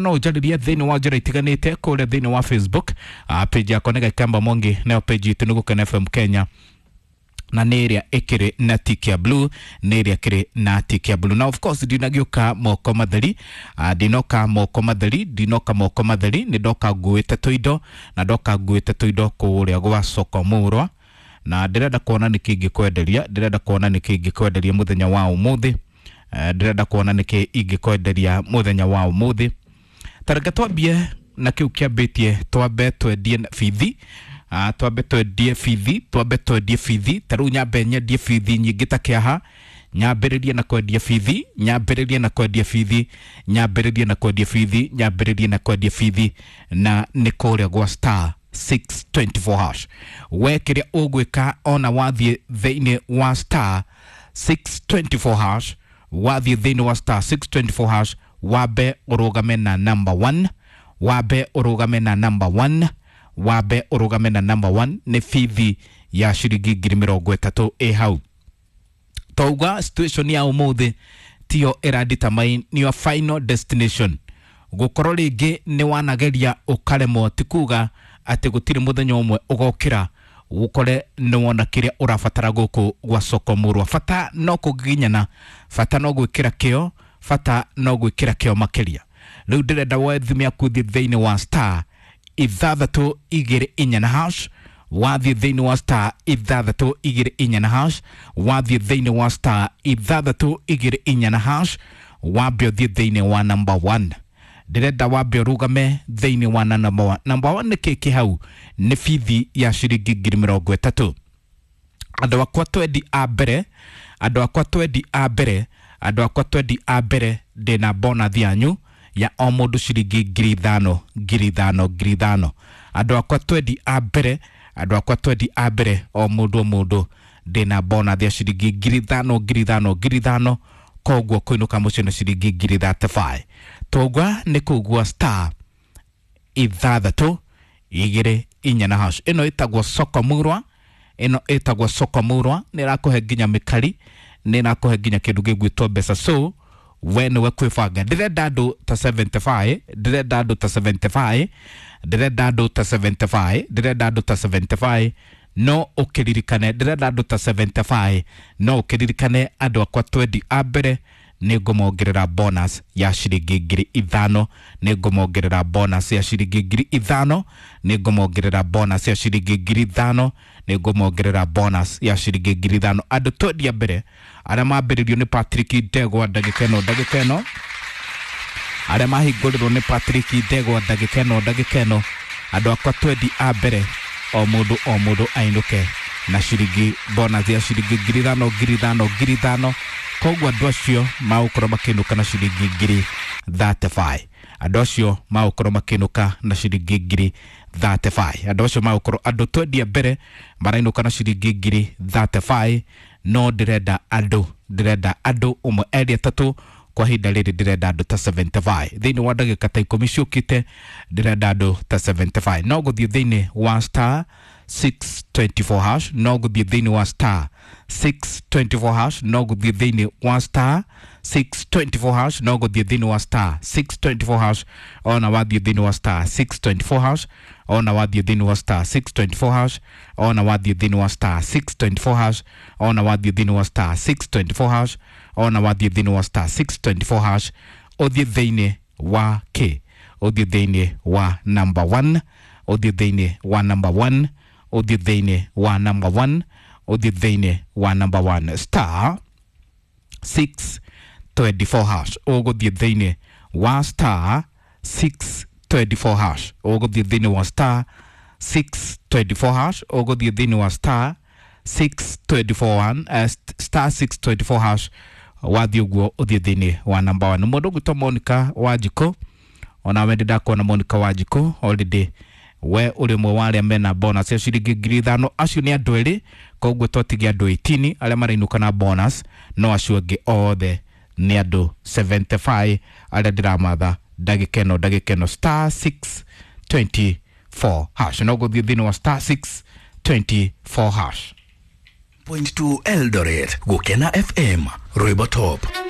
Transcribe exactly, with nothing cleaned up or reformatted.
No ũnjarĩrie thĩinĩ wa njĩra itiganĩte kũrĩa thĩinĩ wa Facebook, uh, page yakwa nĩ Gakamba Mwangi, nayo page itũ nĩ Gũkena F M Kenya, na nĩ ĩrĩa ĩkĩrĩ na tick ya blue, nĩ ĩrĩa ĩkĩrĩ na tick ya blue. Na of course ndinagĩũka moko matheri, uh, ndinoka moko matheri, ndinoka moko matheri, nĩ ndoka nguĩte tũindo, na ndoka nguĩte tũindo kũrĩa gwa soko mũrwa, na ndĩrenda kuona nĩkĩ ingĩkwenderia, ndĩrenda kuona nĩkĩ ingĩkwenderia mũthenya wa ũmũthĩ, uh, ndĩrenda kuona nĩkĩ ingĩkwenderia mũthenya wa ũmũthĩ. Tareke twambie na kĩu kĩambĩtie, twambe twendie bithi, uh, twambe twendie bithi, twambe twendie bithi. Ta rĩu nyambe nyendie bithi nyingĩ ta kĩaha, nyambĩrĩrie na kwendia bithi, nyambĩrĩrie na kwendia bithi, nyambĩrĩrie na kwendia bithi, nyambĩrĩrie na kwendia bithi, na nĩ kũrĩa gwa star six twenty four hash. We kĩrĩa ũgwĩka ona wathiĩ thĩinĩ wa star six twenty four hash, wathiĩ thĩinĩ wa star six twenty four hash, wambe ũrũgame na number one, wambe ũrũgame na number one, wambe ũrũgame na number one. Nĩ bithi ya ciringi ngiri mĩrongo ĩtatũ ĩ hau. Twauga situation ya ũmũthĩ tiyo ĩradetermine your final destination. Gũkorwo rĩngĩ nĩ wanageria ũkaremwo ti kuga atĩ gũtirĩ mũthenya ũmwe ũgokĩra ũkore nĩ wona kĩrĩa ũrabatara gũkũ gwa soko mũrwa. Bata no kũgiginyana, bata no gwĩkĩra kĩo, bata no gwĩkĩra kĩo makĩria. Rĩu ndĩrenda woe thimũ yaku ũthiĩ thĩinĩ wa star ithathatũ igĩrĩ inya na hash, wathiĩ thĩinĩ wa star ithathatũ igĩrĩ inya na hash, wathiĩ thĩinĩ wa star ithathatũ igĩrĩ inya na hash, wambe ũthiĩ thĩinĩ wa number one. Ndĩrenda wambe ũrũgame thĩinĩ wa number one. Number one nĩ kĩ kĩ hau? Nĩ bithi ya ciringi ngiri mĩrongo ĩtatũ. Andũ akwa twendi a mbere, andũ akwa twendi a mbere, andũ akwa twendi a mbere, ndĩna bonus yanyu ya o mũndũ ciringi ngiri ithano, ngiri ithano, ngiri ithano. Andũ akwa twendi a mbere, andũ akwa twendi a mbere, o mũndũ o mũndũ ndĩna bonus ya ciringi ngiri ithano, ngiri ithano, ngiri ithano. Koguo kũinũka mũciĩ na ciringi ngiri thirty five. Twaugua nĩ kũgua star ithathatũ igĩrĩ inya na hash. Ĩno ĩtagwo soko mũrwa, ĩno ĩtagwo soko mũrwa, nĩ ĩrakũhe nginya mĩkari, nĩ ĩrakũhe nginya kĩndũ gĩgwĩtwo mbeca. So we nĩwe kwĩbanga. Ndĩrenda andũ ta seventy five, ndĩrenda andũ ta seventy five, ndĩrenda andũ ta seventy five, ndĩrenda andũ ta seventy five. No ũkĩririkane, ndĩrenda andũ ta seventy five, no ũkĩririkane andũ akwa twendi a mbere nĩ ngũmongerera bonus ya ciringi ngiri ithano, nĩ ngũmongerera bonus ya ciringi ngiri ithano, nĩ ngũmongerera bonus ya ciringi ngiri ithano, nĩ ngũmongerera bonus ya ciringi ngiri ithano. Andũ twendi a mbere arĩa mambĩrĩrio nĩ Patrick Ndegwa ndagĩka ĩno, ndagĩka ĩno, arĩa mahingũrĩrwo nĩ Patrick Ndegwa ndagĩka ĩno, ndagĩka ĩno, andũ akwa twendi a mbere o mũndũ o mũndũ ainũke na ciringi bonus ya ciringi ngiri ithano, ngiri ithano, ngiri ithano. Koguo andũ acio magũkorwo makĩinũka na ciringi ngiri thirty five. Andũ acio magũkorwo makĩinũka na ciringi ngiri thirty five. Andũ acio magũkorwo andũ twendi a mbere marainũka na ciringi ngiri thirty five. No ndĩrenda andũ, ndĩrenda andũ ũmwe erĩ atatũ kwa ihinda rĩrĩ, ndĩrenda andũ ta seventy five. Thĩinĩ wa ndagĩka ta ikũmi ciũkĩte ndĩrenda andũ ta seventy five. No gũthiĩ thĩinĩ wa star six twenty four hash, no gũthiĩ thĩinĩ wa star six twenty four hash, no gũthiĩ thĩinĩ wa star six twenty four hash, no gũthiĩ thĩinĩ wa star six twenty four hash, ona wathiĩ thĩinĩ wa star six twenty four hash, ona wathiĩ thĩinĩ wa star six twenty four hash, ona wathiĩ thĩinĩ wa star six twenty four hash, ona wathiĩ thĩinĩ wa star six twenty four hash, ona wathiĩ thĩinĩ wa star six twenty four hash, ũthiĩ thĩinĩ wa K, ũthiĩ thĩinĩ wa number one, ũthiĩ thĩinĩ wa number one, ũthiĩ thĩinĩ wa number one, ũthiĩ thĩinĩ wa number one, star six twenty four hash, ũgũthiĩ thĩinĩ wa star six twenty four hash, ũgũthiĩ thĩinĩ wa star six twenty four hash, ũgũthiĩ thĩinĩ wa star six twenty four one, uh, star six twenty four hash, wathiĩ ũguo ũthiĩ thĩinĩ wa number one. Mũndũ ũgwĩtwo Monica Wanjikũ, onawe ndĩ ndakuona Monica Wanjikũ already, we ũrĩ ũmwe wa arĩa mena bonus ya ciringi ngiri ithano. Acio nĩ andũ erĩ, koguo twatigia andũ eighteen arĩa marainũka na bonus, no acio angĩ othe nĩ andũ seventy five arĩa ndĩramatha ndagĩka ĩno, ndagĩka ĩno, star six twenty four hash. No gũthiĩ thĩinĩ wa star six twenty four hash. Point two Eldoret, Gũkena F M, Rwĩmbo Top.